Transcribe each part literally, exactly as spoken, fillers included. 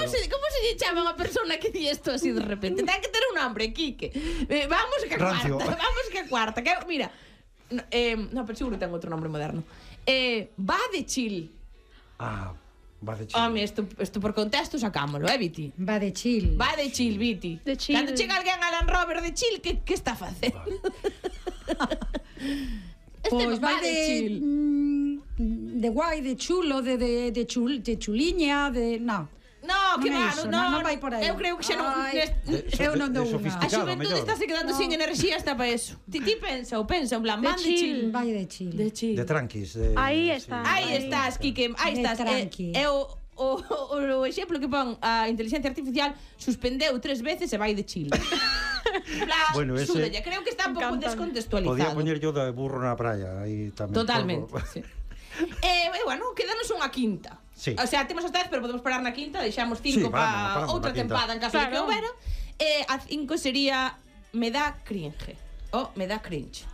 como se, como se lle chama unha persona que di isto así de repente? Ten que ter un nombre, Quique. Eh, vamos que a Rancio. cuarta, vamos que a cuarta. Que, mira, no, eh, no, pero seguro ten outro nombre moderno. Eh, va de chill. Ah, va de chill. Home, isto, isto por contexto sacámolo, eh, Viti? Va de chill. Va de chill, Viti. De chill. Cando chega alguén a Land Rover de chill, que, que está a facer? Este Pois va vai de chill. de mm, de guai, de chulo, de de de, chul, de chuliña, de no. No, que Non é va, iso, no, non- non vai por aí. Eu creo que xa non Ai. nest- De- Eu non de dou unha. A sofisticado, xuventude mellor. está se quedando No. sin enerxía hasta para eso. Ti, ti pensa, ou pensa, en plan, De van de chill. chill. Vai de chill. De chill. De tranquis. De, Aí sí. está. Aí estás, Quique, aí De estás. tranqui. É o, o, o, o exemplo que pon a inteligencia artificial suspendeu tres veces e vai de chill. Bla, Bueno, ese- súdalle. Creo que está un pouco Encántame. descontextualizado. Podía poñer yo de burro na praia aí tamén. Totalmente. Por- Sí. E, eh, bueno, quedanos unha quinta. Sí. O sea, temos hasta dez, pero podemos parar na quinta, deixamos cinco Sí, vamos, para paramos outra na quinta. tempada en caso de que Claro. houbera. E a cinco sería me da cringe. O me da cringe.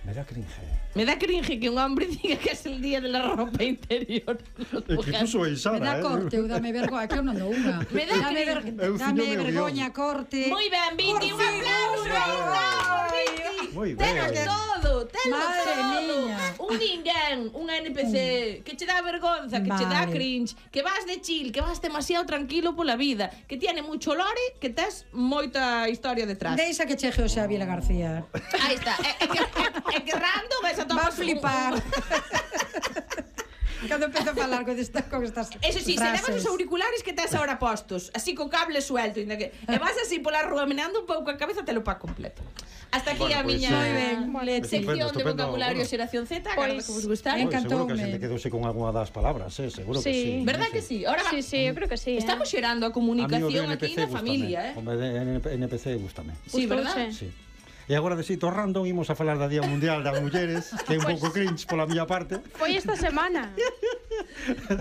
Me da cringe. Me da cringe que un hombre diga que es el día de la ropa interior. É que puso aí Sara, Me dá eh? corte, eu dame vergoña, que eu non dou unha. Me dá dame, ver, cringe. Eu dame fino meu vergoña, guión. corte. Moi ben, Viti, un Por fin, aplauso. bravo, Viti. Moi Teno ben. todo, teno Madre todo. miña. Un ninguén, un N P C que che dá vergonza, que che dá Vale. cringe, que vas de chill, que vas demasiado tranquilo pola vida, que tiene mucho lore, que tes moita historia detrás. Deixa que cheje o Xavier García. Aí está. É, é que, é, é que random esa Va a tomas flipar. un- Cando empezo a falar con, esta, con estas Eso sí, se frases. levas os auriculares que tes ahora postos, así co cable suelto, inda que e vas así pola rúa meneando un pouco a cabeza, te lo pa completo. Hasta aquí Bueno, a pois, miña eh, Moi ben, Leti. sección Estupendo, de estupendo, vocabulario bueno. xeración Z, Pois, agora que vos gustara. en- Bueno, seguro que a Encantoume. xente quedouse con algunha das palabras, eh? Seguro que Sí. sí. Verdad sí. que sí? Ahora va. Sí, sí, eu creo que sí. Estamos eh. xerando a A mí o comunicación de aquí N P C na gústame. familia, eh? O de N P C gústame. Sí, verdad? Gustouse. Sí. E agora de xito random imos a falar da Día Mundial das Mulleres, que é un pouco cringe pola miña parte. Foi esta semana.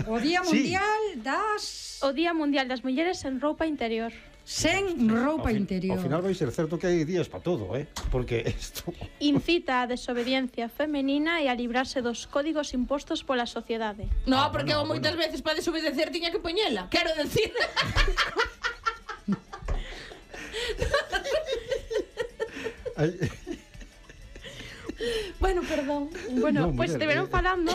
O Día Sí. Mundial das O Día Mundial das Mulleres en roupa interior. sen roupa Ao fin- interior. Ao final vai ser certo que hai días para todo, eh? Porque isto... Incita a desobediencia femenina e a librarse dos códigos impostos pola sociedade. No, Ah, porque bueno, eu moitas bueno. veces para desobedecer tiña que poñela. Quero decir. Ai, Bueno, perdón. Bueno, No, pois pues muller, estiveron eh. falando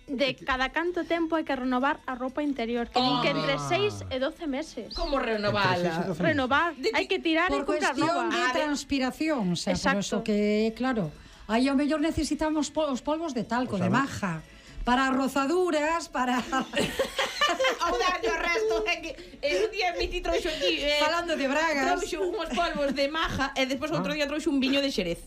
de cada canto tempo hai que renovar a roupa interior, que din que entre seis e doce meses. Como Entre seis e renovala? doce Renovar, De- hai que tirar e Por comprar cuestión nova. de A ver. transpiración, o sea, por Exacto. eso que, claro, aí ao mellor necesitamos po- os polvos de talco, O sea, de maja, para rozaduras, para... Ao darlle o resto, é que eh, un día Miti trouxo aquí eh, Falando de bragas. trouxo uns polvos de maja e despois outro día trouxo un viño de Xerez.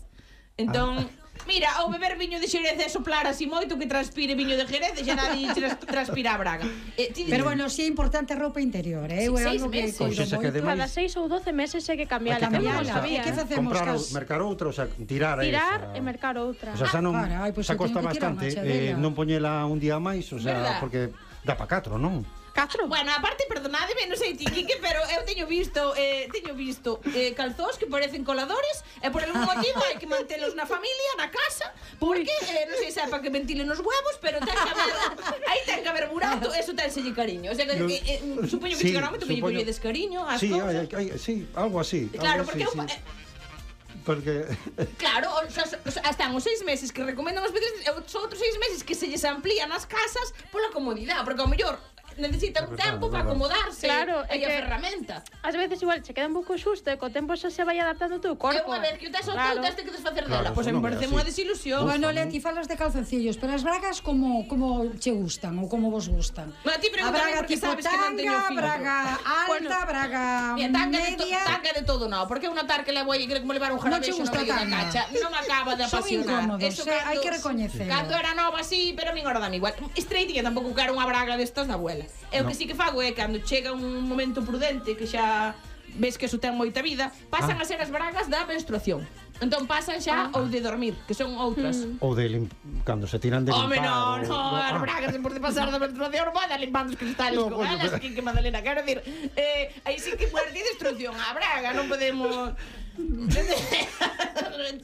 Entón, mira, ao beber viño de Xerez e soplar así moito que transpire viño de Xerez e xa nadie tras, transpira a braga. Eh, ti Pero bueno, sí é importante a roupa interior, eh? Sí, É seis algo que meses. coido Pois esa que moito. ademais- Cada seis ou doce meses hai que cambiala. Hai que Que eu non cambiala. sabía. E que facemos comprar, cas- mercar outra, o sea, tirar a Tirar esa. e mercar outra. O sea, xa non, Carai, pois xa eu costa teño que tirar bastante marcha eh, dela. non poñela un día máis, o sea, Verdad? porque dá pa catro, non? Catro? Bueno, aparte, perdonádeme, non sei ti, Quique, pero eu teño visto, eh, teño visto eh, calzós que parecen coladores e por algún motivo hai que mantelos na familia, na casa, porque eh, non sei se é para que ventilen os huevos, pero ten que haber, aí ten que haber burato, eso tenselle cariño. O sea, que, No. eh, eh, supoño que Sí, chegará un momento que lle supoño- colledes cariño ás Sí, cousas. hai, hai, sí, algo así. Claro, algo porque eu, así, eh, sí. Porque claro, o sea, o sea, están os seis meses que recomendan os pedres, e os outros seis meses que se lles amplían as casas pola comodidade, porque ao mellor necesita un É verdade, tempo é para verdade. acomodarse Claro, e é a que- ferramenta. Ás veces igual che queda un pouco xusto e co tempo xa se vai adaptando o teu E corpo. unha vez que o tes ao Claro. teu, tes que desfacer Claro, dela. Pois eso me non é parece así. unha desilusión. Bueno, Uf, Leti, falas de calzoncillos, pero as bragas como como che gustan ou como vos gustan? Ma ti A pregúntame braga porque tipo sabes que non teño tanga, filtro. braga alta, Bueno, braga Mira, tanga de, to, media... tanga de todo no, porque é un atar que levo aí que como levar un Non che jarabexo no gusta medio da tanga? cacha, non me acaba de Son apasionar. incómodos, eh, hai que recoñecelo. Cando era nova así, pero a min ahora dame igual. Straight que tampouco quero unha braga destas da abuela. E o No. que sí que fago é cando chega un momento prudente que xa ves que eso ten moita vida, pasan Ah. a ser as bragas da menstruación. Entón pasan xa ou de dormir, que son outras. ou de lim... cando se tiran de Home, limpar. no, no, ou- as ah. bragas en por de pasar da menstruación vai dar limpando os cristales No, con coño, elas, pero- que, que Madalena, quero dir, eh, aí sí que muerte e destrucción a braga, non podemos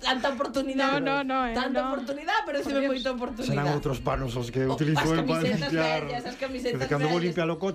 tanta oportunidade. No, no, no, eh, Tanta no. oportunidade, pero moita Serán oportunidade. outros panos os que O, utilizo as eu para camisetas limpiar. vellas, as camisetas Cando vou vellas. limpiar o coche